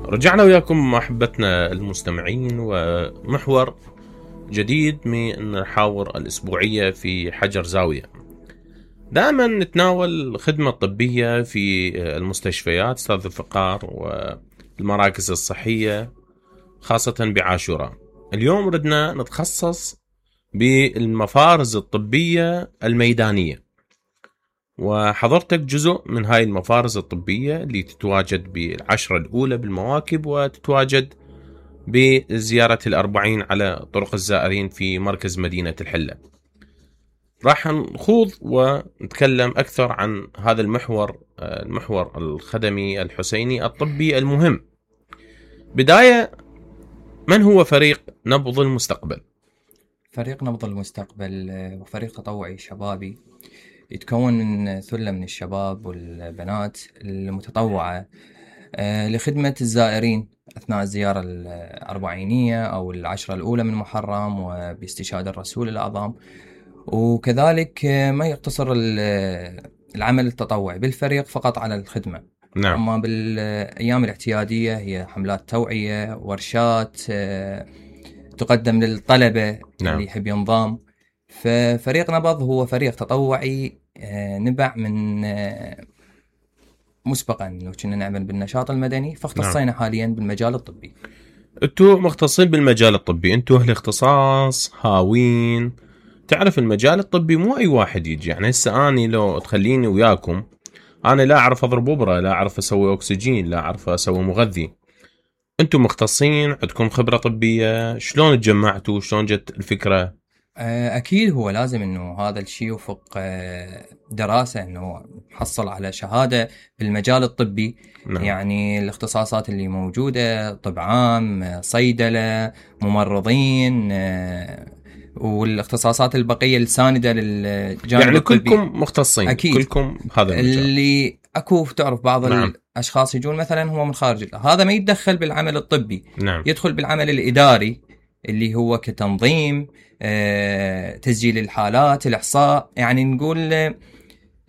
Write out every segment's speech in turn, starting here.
رجعنا وياكم أحبتنا المستمعين ومحور جديد من الحوار الأسبوعية في حجر زاوية. دائما نتناول الخدمة الطبية في المستشفيات أستاذ الفقار والمراكز الصحية خاصة بعاشوراء. اليوم ردنا نتخصص بالمفارز الطبية الميدانية، وحضرتك جزء من هاي المفارز الطبية اللي تتواجد بالعشرة الأولى بالمواكب وتتواجد بزيارة الأربعين على طرق الزائرين في مركز مدينة الحلة. راح نخوض ونتكلم أكثر عن هذا المحور الخدمي الحسيني الطبي المهم. بداية، من هو فريق نبض المستقبل؟ فريق نبض المستقبل وفريق تطوعي شبابي يتكون من ثلة من الشباب والبنات المتطوعة لخدمة الزائرين أثناء الزيارة الأربعينية أو العشرة الأولى من محرم وباستشهاد الرسول الأعظم. وكذلك ما يقتصر العمل التطوعي بالفريق فقط على الخدمة. نعم. أما بالأيام الاعتيادية هي حملات توعية، ورشات تقدم للطلبة. نعم. اللي يحب ينضم. ففريق نبض هو فريق تطوعي نبع من مسبقا انه كنا نعمل بالنشاط المدني، فاختصينا نعم. حاليا بالمجال الطبي. انتوا مختصين بالمجال الطبي، انتوا اهل اختصاص هاوين. تعرف المجال الطبي مو اي واحد يجي، يعني هسه اني لو تخليني وياكم انا لا اعرف اضرب ابره، لا اعرف اسوي اكسجين، لا اعرف اسوي مغذي. انتوا مختصين، عندكم خبرة طبية، شلون تجمعتوا، شلون جت الفكرة؟ أكيد هو لازم إنه هذا الشيء يوفق دراسة، إنه حصل على شهادة بالمجال الطبي. نعم. يعني الاختصاصات اللي موجودة طب عام، صيدلة، ممرضين، والاختصاصات البقية الساندة للجانب يعني الطبي. كلكم مختصين. أكيد. كلكم هذا المجال. اللي أكو تعرف بعض نعم. الأشخاص يجون مثلا هو من خارج، هذا ما يتدخل بالعمل الطبي. نعم. يدخل بالعمل الإداري اللي هو كتنظيم، تسجيل الحالات، الإحصاء، يعني نقول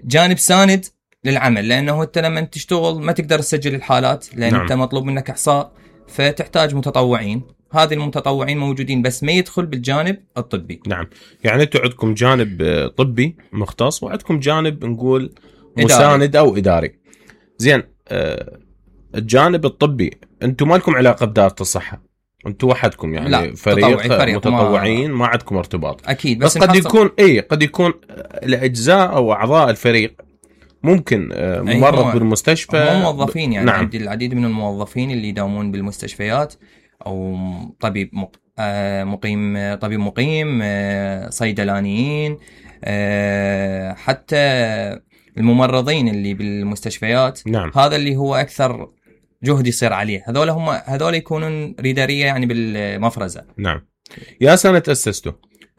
جانب ساند للعمل. لأنه أنت لما تشتغل ما تقدر تسجل الحالات لأن نعم. أنت مطلوب منك إحصاء، فتحتاج متطوعين. هذه المتطوعين موجودين بس ما يدخل بالجانب الطبي. نعم. يعني أنتوا عندكم جانب طبي مختص وعندكم جانب نقول إداري. مساند أو إداري. زين. الجانب الطبي أنتوا ما لكم علاقة بدارة الصحة، أنتوا وحدكم يعني. لا. فريق متطوعين ما عندكم ارتباط. أكيد. بس قد يكون الأجزاء أو أعضاء الفريق ممكن ممرض بالمستشفى. هم موظفين يعني. نعم. عندي العديد من الموظفين اللي يداومون بالمستشفيات، أو طبيب مقيم، طبيب مقيم، صيدلانيين، حتى الممرضين اللي بالمستشفيات. نعم. هذا اللي هو أكثر جهد يصير عليه. هذول يكونون ريدارية يعني بالمفرزة. نعم. يا سنة تأسستوا؟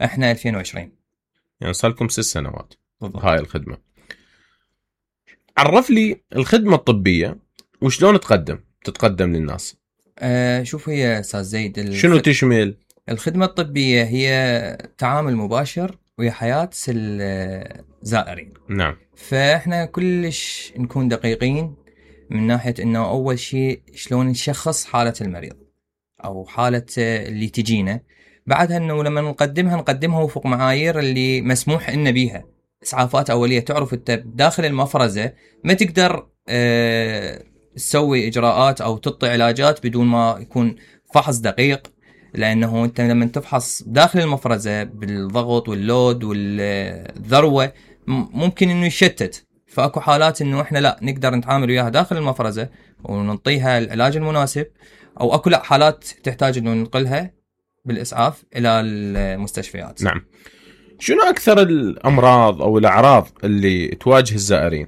احنا 2020. يعني صار لكم 6 سنوات بالضبط. هاي الخدمة. عرف لي الخدمة الطبية وشلون تتقدم للناس. شوف هي أستاذ زيد، شنو تشمل؟ الخدمة الطبية هي تعامل مباشر ويا حياة الزائرين. نعم. فإحنا كلش نكون دقيقين من ناحية إنه أول شيء شلون نشخص حالة المريض أو حالة اللي تجينا. بعدها إنه لما نقدمها وفق معايير اللي مسموح إن بيها. إسعافات أولية. تعرف أنت داخل المفرزة ما تقدر تسوي إجراءات أو تعطي علاجات بدون ما يكون فحص دقيق. لأنه أنت لما تفحص داخل المفرزة بالضغط واللود والذروة ممكن إنه يشتت. فأكو حالات إنه إحنا لا نقدر نتعامل وياها داخل المفرزة ونعطيها العلاج المناسب، أو أكو لا حالات تحتاج إنه ننقلها بالإسعاف إلى المستشفيات. نعم. شنو أكثر الأمراض أو الأعراض اللي تواجه الزائرين؟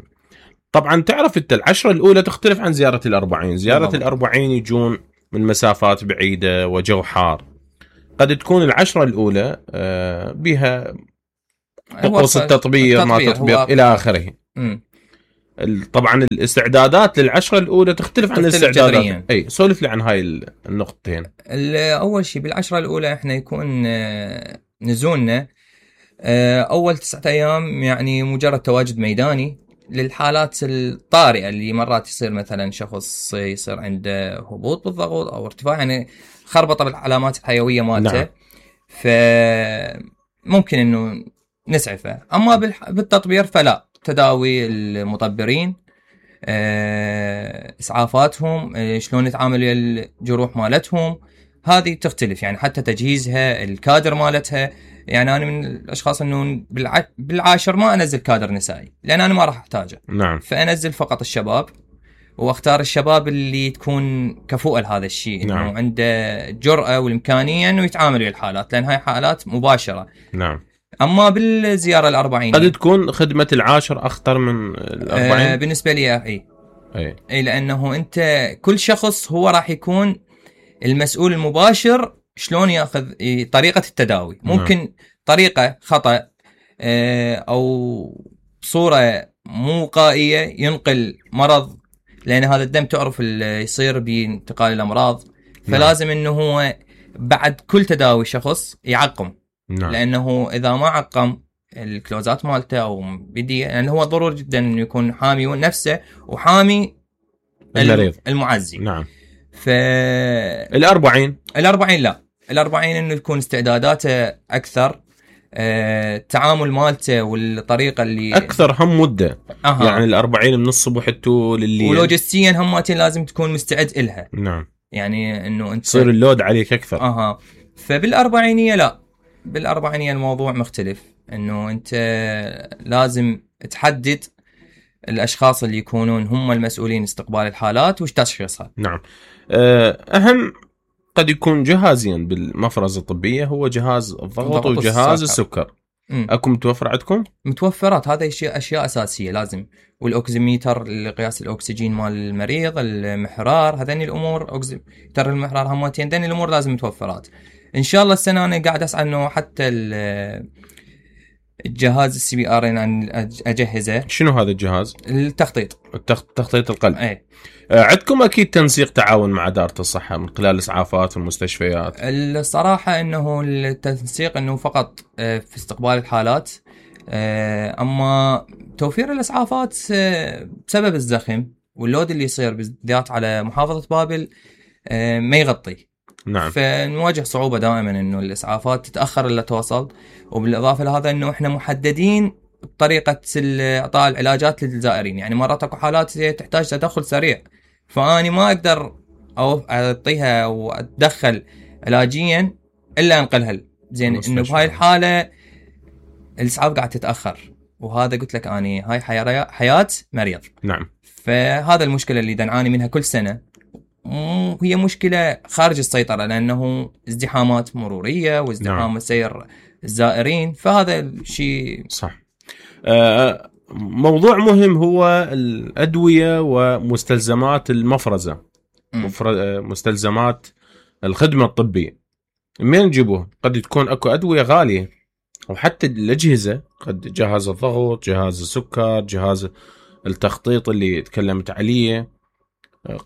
طبعا تعرف أنت العشرة الأولى تختلف عن زيارة الأربعين. زيارة الأربعين يجون من مسافات بعيدة وجو حار. قد تكون العشرة الأولى بها طقوس التطبير ما تطبير إلى آخره. طبعا الاستعدادات للعشرة الأولى تختلف عن الاستعدادات. أي سولف لي عن هاي النقطتين. أول شيء بالعشرة الأولى إحنا يكون نزولنا أول 9 أيام يعني مجرد تواجد ميداني للحالات الطارئة اللي مرات يصير مثلا شخص يصير عنده هبوط بالضغط أو ارتفاع، يعني خربطة بالعلامات الحيوية مالته. نعم. فممكن إنه نسعفه. أما بالتطبير فلا، تداوي المطبرين، إسعافاتهم، شلون يتعاملوا الجروح مالتهم، هذه تختلف. يعني حتى تجهيزها، الكادر مالتها. يعني أنا من الأشخاص إنه بالعاشر ما أنزل كادر نسائي، لأن أنا ما راح أحتاجه. نعم. فأنزل فقط الشباب، واختار الشباب اللي تكون كفؤة لهذا الشيء، نعم. إنه عنده جرأة والإمكانية إنه يتعامل ويا الحالات، لأن هاي حالات مباشرة. نعم. أما بالزيارة الأربعينية قد تكون خدمة العاشر أخطر من ال40. بالنسبة لي أي، لأنه أنت كل شخص هو راح يكون المسؤول المباشر شلون ياخذ طريقة التداوي. ممكن طريقة خطأ أو صورة مو وقائية ينقل مرض، لأن هذا الدم تعرف يصير بانتقال الأمراض. فلازم إنه هو بعد كل تداوي شخص يعقم. نعم. لأنه إذا ما عقم الكلوزات مالته أو بدي، يعني هو ضروري جدا إنه يكون حامي نفسه وحامي المريض المعزي. نعم. ال40 لا، ال40 إنه يكون استعداداته أكثر، التعامل مالته والطريقة اللي أكثر هم مدة. يعني ال40 من الصبح تو لليل، ولوجستيا هماتين لازم تكون مستعد إلها. نعم. يعني إنه أنت تصير اللود عليك أكثر. فبال40 لا، بال40 الموضوع مختلف، إنه أنت لازم تحدد الأشخاص اللي يكونون هم المسؤولين استقبال الحالات وش تشخيصها. نعم. أهم قد يكون جهازين بالمفرزة الطبية، هو جهاز الضغط وجهاز السكر. أكو متوفر عندكم؟ متوفرات، هذا أشياء أساسية لازم. والأوكسيميتر لقياس الأكسجين مال المريض، المحرار، هذين الأمور، أوكسيميتر المحرار، همتين، هذين الأمور لازم متوفرات. إن شاء الله السنة أنا قاعد أسعى إنه حتى الجهاز الCPR أن أجهزه. شنو هذا الجهاز؟ التخطيط القلب. أي. عندكم أكيد تنسيق تعاون مع دارة الصحة من خلال الإسعافات والمستشفيات. الصراحة إنه التنسيق إنه فقط في استقبال الحالات، أما توفير الإسعافات بسبب الزخم واللود اللي يصير بالذات على محافظة بابل ما يغطي. نعم. فنواجه صعوبة دائما إنه الإسعافات تتأخر إلا توصل. وبالإضافة لهذا إنه إحنا محددين بطريقة إعطاء العلاجات للزائرين. يعني مرات أكو حالات تحتاج تدخل سريع، فأني ما أقدر أعطيها أو أتدخل علاجيا إلا أنقلها زين. إنه بهاي الحالة الإسعاف قاعد تتأخر، وهذا قلت لك أني هاي حياة مريض. نعم. فهذا المشكلة اللي نعاني منها كل سنة، هي مشكلة خارج السيطرة، لأنه ازدحامات مرورية وازدحام سير الزائرين. فهذا الشيء صح. موضوع مهم هو الأدوية ومستلزمات المفرزة، مستلزمات الخدمة الطبية. من نجيبوه؟ قد تكون أكو أدوية غالية، وحتى الأجهزة، قد جهاز الضغط، جهاز السكر، جهاز التخطيط اللي تكلمت عليه،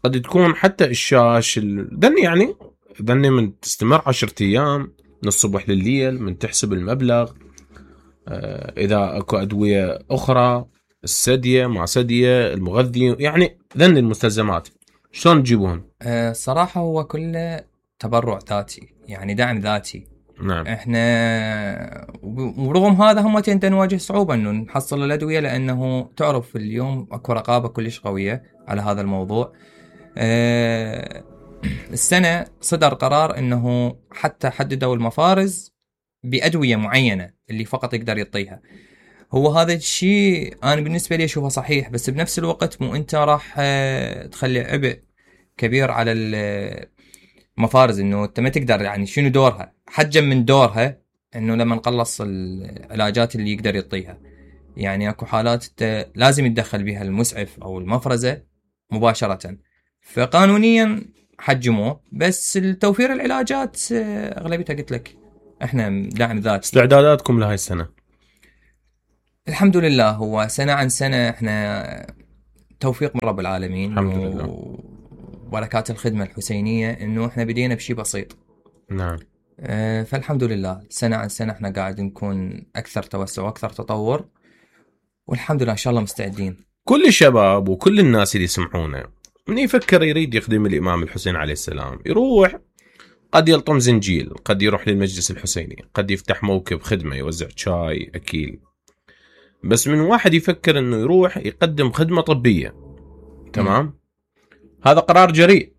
قد تكون حتى الشاش ذني من تستمر 10 أيام من الصبح لليل، من تحسب المبلغ. إذا أكو أدوية أخرى، السدية مع سدية، المغذي، يعني ذني المستلزمات شلون تجيبوهن؟ صراحة هو كله تبرع ذاتي، يعني دعم ذاتي. نعم. احنا ورغم هذا هم نواجه صعوبة انه نحصل الأدوية، لأنه تعرف اليوم اكو رقابة كلش قوية على هذا الموضوع. السنة صدر قرار انه حتى حددوا المفارز بأدوية معينة اللي فقط يقدر يعطيها. هو هذا الشيء انا بالنسبة لي اشوفه صحيح، بس بنفس الوقت مو انت راح تخلي عبء كبير على المفارز، انه انت ما تقدر، يعني شنو دورها، حجم من دورها انه لما نخلص العلاجات اللي يقدر يعطيها. يعني اكو حالات لازم يتدخل بها المسعف او المفرزة مباشرة، فقانونيا حجموه. بس التوفير العلاجات اغلبيتها قلت لك احنا دعم ذاتي. استعداداتكم لهاي السنة؟ الحمد لله، هو سنة عن سنة احنا توفيق من رب العالمين. الحمد لله. وبركات الخدمة الحسينية انه احنا بدينا بشي بسيط. نعم. فالحمد لله سنة عن سنة احنا قاعد نكون اكثر توسع واكثر تطور، والحمد لله ان شاء الله مستعدين. كل الشباب وكل الناس اللي يسمعونه من يفكر يريد يخدم الإمام الحسين عليه السلام يروح، قد يلطم زنجيل، قد يروح للمجلس الحسيني، قد يفتح موكب خدمة يوزع شاي أكيل. بس من واحد يفكر انه يروح يقدم خدمة طبية، تمام، هذا قرار جريء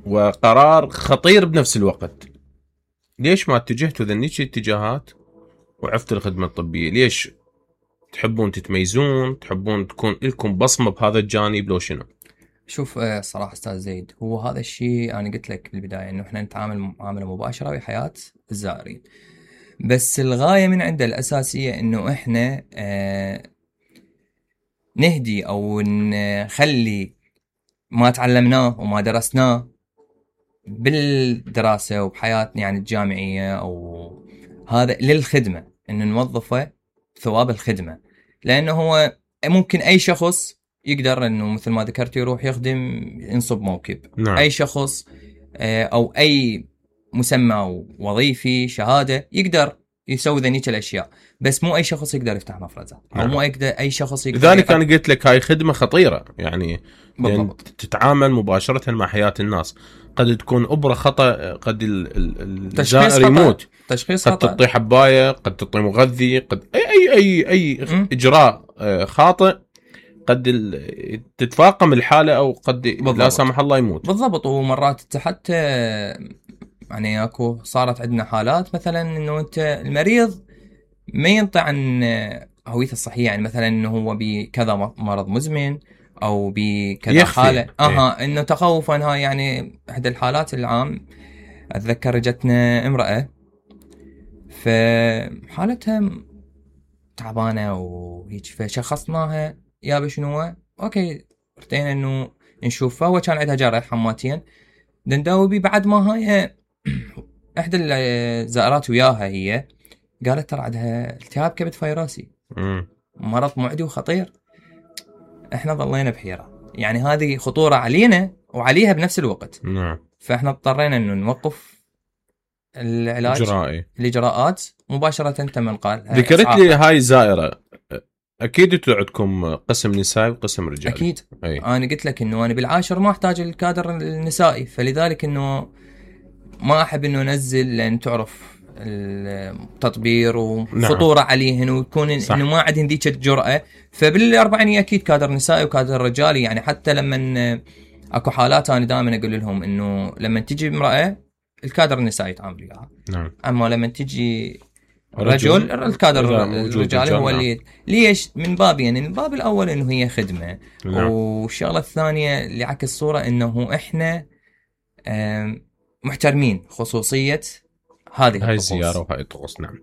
وقرار خطير بنفس الوقت. ليش ما اتجهتوا ذنيك الاتجاهات وعفتوا الخدمة الطبية؟ ليش تحبون تتميزون، تحبون تكون لكم بصمة بهذا الجانب لو شنو؟ شوف صراحة أستاذ زيد، هو هذا الشيء أنا قلت لك بالبداية إنه إحنا نتعامل معاملة مباشرة بحياة الزائرين، بس الغاية من عنده الأساسية إنه إحنا نهدي أو نخلي ما تعلمناه وما درسناه بالدراسة وبحياتنا يعني الجامعية أو هذا للخدمة، إنه نوظفه ثواب الخدمة. لأنه هو ممكن أي شخص يقدر إنه مثل ما ذكرت يروح يخدم، ينصب موكب. نعم. أي شخص أو أي مسمى وظيفي شهادة يقدر يسوي ذنيك الأشياء، بس مو أي شخص يقدر يفتح مفرزة. أو نعم. مو أي شخص يقدر. لذلك أنا قلت لك هاي خدمة خطيرة، يعني تتعامل مباشرة مع حياة الناس. قد تكون أبرة خطأ، قد الزائر يموت، تشخيص قد خطأ، تعطي حباية، قد تعطي مغذي، قد أي إجراء خاطئ قد تتفاقم الحالة، أو قد لا سمح الله يموت. بالضبط. ومرات حتى يعني اكو صارت عندنا حالات مثلا انه انت المريض ما ينطي عن هويته الصحيه، يعني مثلا انه هو بكذا مرض مزمن او بكذا حاله انه تخوفا. هاي يعني احدى الحالات العام اتذكر جتنا امراه فحالتها تعبانه وهيك، فشخصناها يا بشنو اوكي، ارتينا انه نشوفها. هو كان عندها جرح حماتين دنداوبي. بعد ما هاي احدى الزائرات وياها هي قالت ترى عندها التهاب كبد فيروسي، مرض معدي وخطير. احنا ظلينا بحيرة، يعني هذه خطورة علينا وعليها بنفس الوقت. نعم. فاحنا اضطرينا انه نوقف العلاج، الاجراءات مباشرة. تم قال ذكرت لي هاي زائرة، اكيد انتوا عندكم قسم نسائي وقسم رجالي. اكيد. انا قلت لك انه انا بالعاشر ما احتاج الكادر النسائي، فلذلك انه ما احب انه انزل، لان تعرف التطبير وخطوره عليهن ويكون انه ما عندهن ذيك الجرأه. فبالاربعينيه اكيد كادر نسائي وكادر رجالي. يعني حتى لما اكو حالات انا دائما اقول لهم انه لما تجي امراه الكادر النسائي يتعامل وياها. نعم. اما لما تجي رجل الكادر الرجالي هو اللي ليش من باب، يعني من باب الاول انه هي خدمه. نعم. والشغله الثانيه اللي عكس الصوره انه احنا محترمين خصوصية هاي الزيارة وهاي الطقوس. نعم.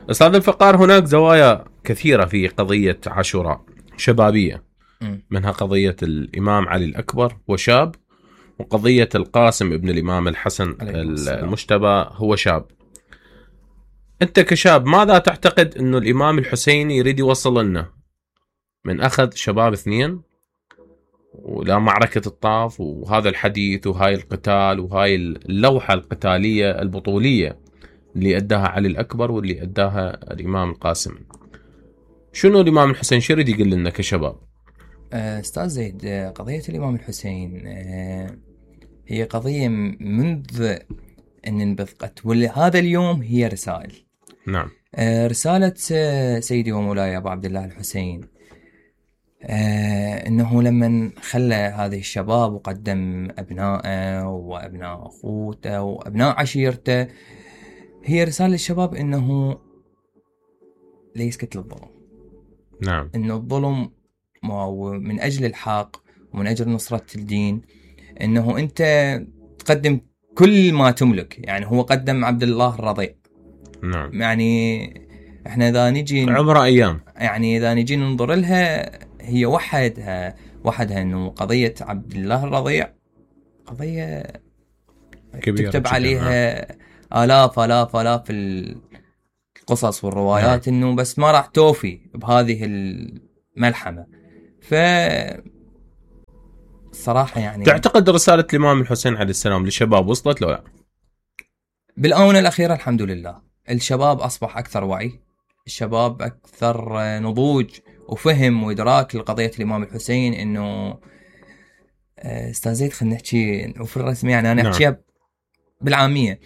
أستاذ الفقار، هناك زوايا كثيرة في قضية عاشوراء شبابية، منها قضية الإمام علي الأكبر وشاب، وقضية القاسم ابن الإمام الحسن المجتبى هو شاب. أنت كشاب ماذا تعتقد أنه الإمام الحسين يريد يوصل لنا من أخذ شباب اثنين ولا معركة الطاف وهذا الحديث وهاي القتال وهاي اللوحة القتالية البطولية اللي أداها علي الأكبر واللي أداها الإمام القاسم؟ شنو الإمام الحسين شو يريد يقول لنا كشباب؟ أستاذ زيد، قضية الإمام الحسين هي قضية منذ أن انبثقت، وهذا اليوم هي رسائل. نعم. رسالة سيدي ومولاي أبو عبد الله الحسين، انه لما خلى هذه الشباب وقدم ابنائه وابناء اخوته وابناء عشيرته، هي رسالة للشباب انه لا يسكت للظلم. نعم. انه الظلم من اجل الحق ومن اجل نصرة الدين، انه انت تقدم كل ما تملك. يعني هو قدم عبد الله الرضيع. نعم. يعني احنا اذا نجي عمره ايام، يعني اذا نجي ننظر لها هي وحدها انه قضية عبد الله الرضيع قضية كبيرة تكتب عليها آلاف القصص والروايات. نعم. انه بس ما راح توفي بهذه الملحمة. ف صراحة يعني تعتقد رسالة الإمام الحسين عليه السلام للشباب وصلت له لا؟ بالآونة الأخيرة الحمد لله الشباب أصبح أكثر وعي، الشباب أكثر نضوج وفهم وإدراك لقضية الإمام الحسين. إنه أستاذ زيد خلينا نحكي وفي الرسم، يعني أنا أحكيها بالعامية.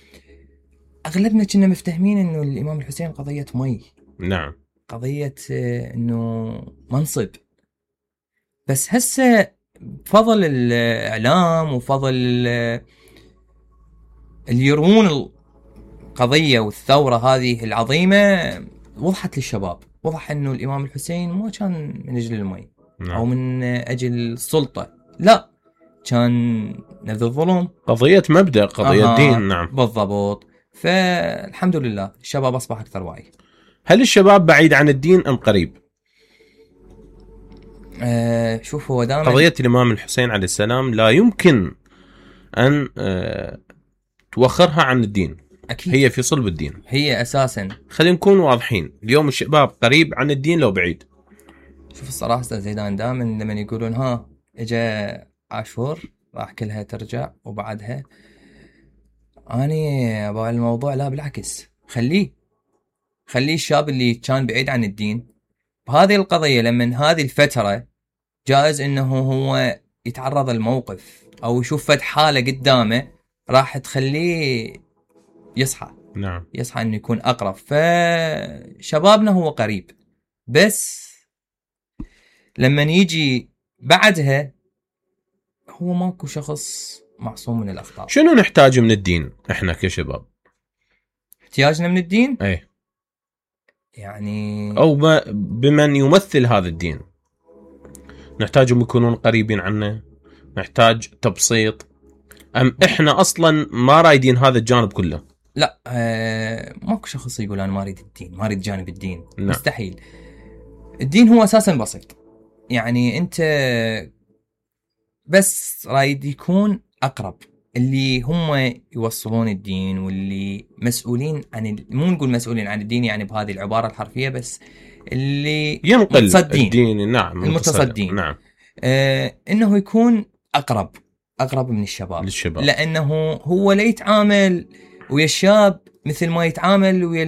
أغلبنا كنا مفتهمين إنه الإمام الحسين قضية مي، نعم، قضية إنه منصب. بس هسه بفضل الإعلام وفضل اللي يرون القضية والثورة هذه العظيمة، وضحت للشباب، وضح إنه الإمام الحسين ما كان من أجل المي أو من أجل السلطة، لا، كان نبذ الظلم، قضية مبدأ، قضية دين. نعم بالضبط. فالحمد لله الشباب أصبح أكثر وعي. هل الشباب بعيد عن الدين أم قريب؟ شوف، هو دائما قضية الإمام الحسين عليه السلام لا يمكن أن توخرها عن الدين. أكيد. هي في صلب الدين، هي أساسا. خلينا نكون واضحين، اليوم الشباب قريب عن الدين لو بعيد. شوف الصراحة أستاذ زيدان، دائما لما يقولون ها إجا عاشور راح كلها ترجع وبعدها، أنا أبغى الموضوع لا بالعكس، خليه الشاب اللي كان بعيد عن الدين بهذه القضية لما هذه الفترة جائز إنه هو يتعرض الموقف أو يشوف فد حالة قدامه راح تخليه يصحى. نعم، يصحى إنه يكون أقرب. فشبابنا هو قريب، بس لما يجي بعدها هو ماكو شخص معصوم من الأخطاء. شنو نحتاج من الدين إحنا كشباب؟ احتياجنا من الدين؟ أي يعني أو بمن يمثل هذا الدين، نحتاجهم يكونون قريبين عنا، نحتاج تبسيط، أم إحنا أصلا ما رايدين هذا الجانب كله؟ لا، ماكو شخص يقول أنا ما أريد الدين، ما أريد جانب الدين. نعم. مستحيل. الدين هو أساسا بسيط، يعني أنت بس رايد يكون أقرب اللي هم يوصلون الدين واللي مسؤولين عن مو نقول مسؤولين عن الدين يعني بهذه العبارة الحرفية، بس اللي ينقل متصدين الدين. نعم، المتصدين. نعم. إنه يكون أقرب من الشباب للشباب، لأنه هو لا يتعامل ويا الشاب مثل ما يتعامل ويا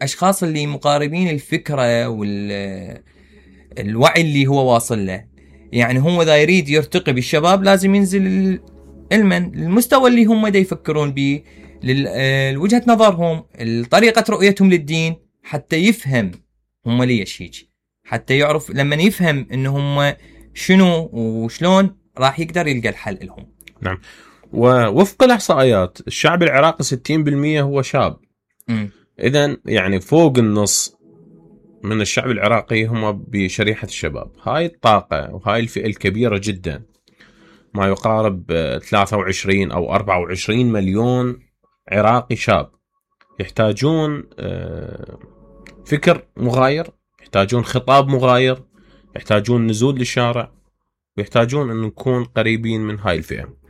الأشخاص اللي مقاربين الفكرة والوعي اللي هو واصل له. يعني هو إذا يريد يرتقي بالشباب لازم ينزل علما للمستوى اللي هم دا يفكرون به، لوجهة نظرهم، طريقة رؤيتهم للدين، حتى يفهم هم ليش هيك، حتى يعرف لما يفهم إنه هم شنو وشلون راح يقدر يلقى الحل لهم. نعم. ووفق الإحصائيات الشعب العراقي 60% هو شاب. إذن يعني فوق النص من الشعب العراقي هم بشريحة الشباب. هاي الطاقة وهاي الفئة الكبيرة جدا، ما يقارب 23 أو 24 مليون عراقي شاب، يحتاجون فكر مغاير، يحتاجون خطاب مغاير، يحتاجون نزول للشارع، ويحتاجون أن نكون قريبين من هاي الفئة.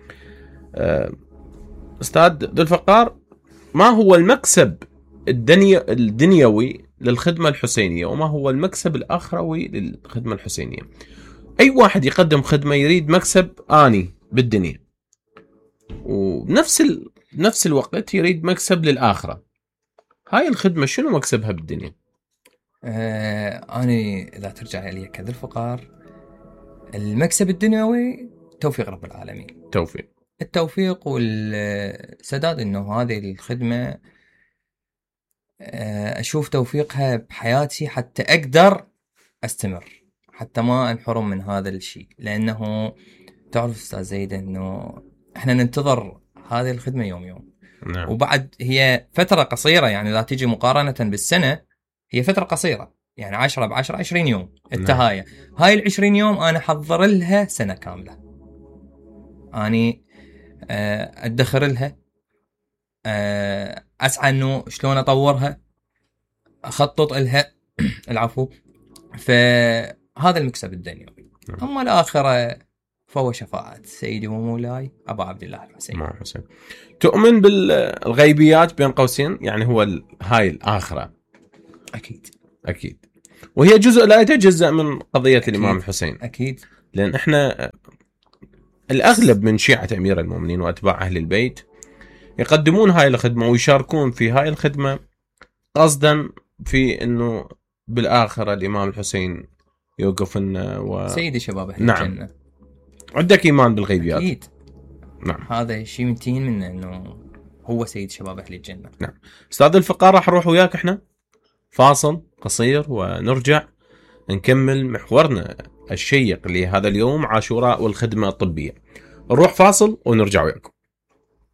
أستاذ ذو الفقار، ما هو المكسب الدنيوي للخدمة الحسينية وما هو المكسب الآخروي للخدمة الحسينية؟ أي واحد يقدم خدمة يريد مكسب آني بالدنيا، ونفس الوقت يريد مكسب للآخرة. هاي الخدمة شنو مكسبها بالدنيا؟ أنا إذا ترجع لي كذا الفقار، المكسب الدنيوي توفيق رب العالمين، التوفيق والسداد، إنه هذه الخدمة أشوف توفيقها بحياتي حتى أقدر أستمر، حتى ما أنحرم من هذا الشيء. لأنه تعرف أستاذ زيد إنه إحنا ننتظر هذه الخدمة يوم. نعم. وبعد هي فترة قصيرة، يعني لا تيجي مقارنة بالسنة، هي فترة قصيرة، يعني 10 ب10 20 يوم التهاية. نعم. هاي 20 يوم أنا حضر لها سنة كاملة، أني أدخر لها، أسعى إنه شلون أطورها، أخطط لها العفو. فهذا المكسب الدنيوي. أما الآخرة فهو شفاعة سيدي ومولاي أبا عبد الله الحسين. تؤمن بالغيبيات بين قوسين؟ يعني هو هاي الآخرة أكيد، وهي جزء لا يتجزأ من قضية أكيد. الإمام الحسين أكيد، لأن إحنا الأغلب من شيعة أمير المؤمنين وأتباع أهل البيت يقدمون هاي الخدمة ويشاركون في هاي الخدمة قصدا في انه بالاخره الامام الحسين يوقف لنا سيد شباب اهل نعم. الجنه. عندك ايمان بالغيبيات؟ اكيد. نعم. هذا شيء منتهين منه انه هو سيد شباب اهل الجنه. نعم. استاذ الفقار راح نروح وياك احنا فاصل قصير ونرجع نكمل محورنا الشيق لهذا اليوم، عاشوراء والخدمه الطبيه. نروح فاصل ونرجع وياكم.